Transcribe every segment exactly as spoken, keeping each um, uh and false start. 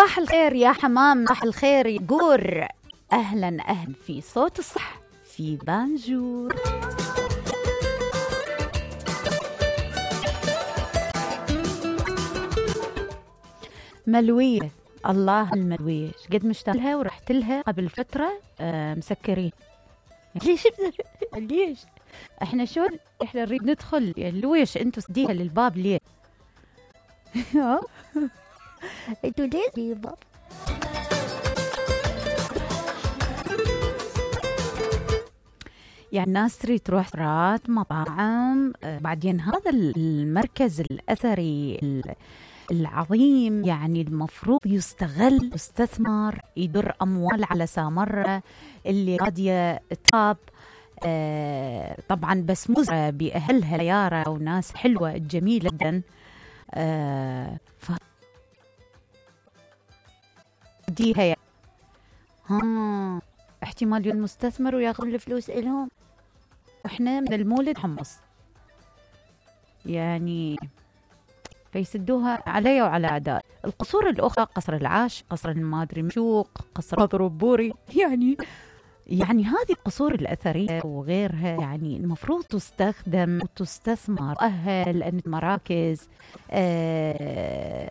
صباح الخير يا حمام، صباح الخير يا جور. أهلا أهلا في صوت الصح في بانجور. ملوية، الله الملوية قد مشتاق لها ورحت لها قبل فترة. آه مسكرين. ليش ليش احنا شو احنا نريد ندخل يعني لويش انتوا سديها للباب ليه؟ انتوا ليه للباب؟ يعني الناس تريد تروح رات مطاعم. آه بعدين هذا المركز الأثري العظيم يعني المفروض يستغل، يستثمر، يدر أموال على سامرة اللي قادية تخاب. آه طبعا بسموزة بأهلها يارا وناس حلوة جميلة جدا. آه ف ديها يعني. ها احتمال يكون مستثمر وياخذ الفلوس إلهم، واحنا من المولد حمص يعني فيسدوها علي وعلى أعداء. القصور الأخرى قصر العاش، قصر المادري مشوق، قصر مضروب بوري، يعني يعني هذه القصور الأثرية وغيرها يعني المفروض تستخدم وتستثمر، تؤهل لأن مراكز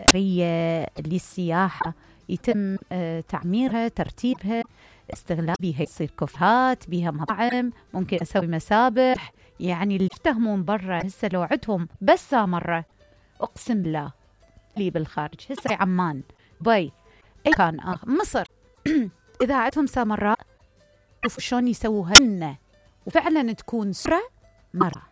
أثرية للسياحة يتم آه تعميرها، ترتيبها، استغلال بها، يصير كافيهات بها، مطاعم، ممكن أسوي مسابح. يعني اللي يفتهمون برا هسه لو عدهم بس مرة أقسم بالله لي بالخارج هسه عمان باي أي كان آخر مصر إذا عدهم سامراء شوفوا شلون يسووها وفعلا تكون سرة مرة.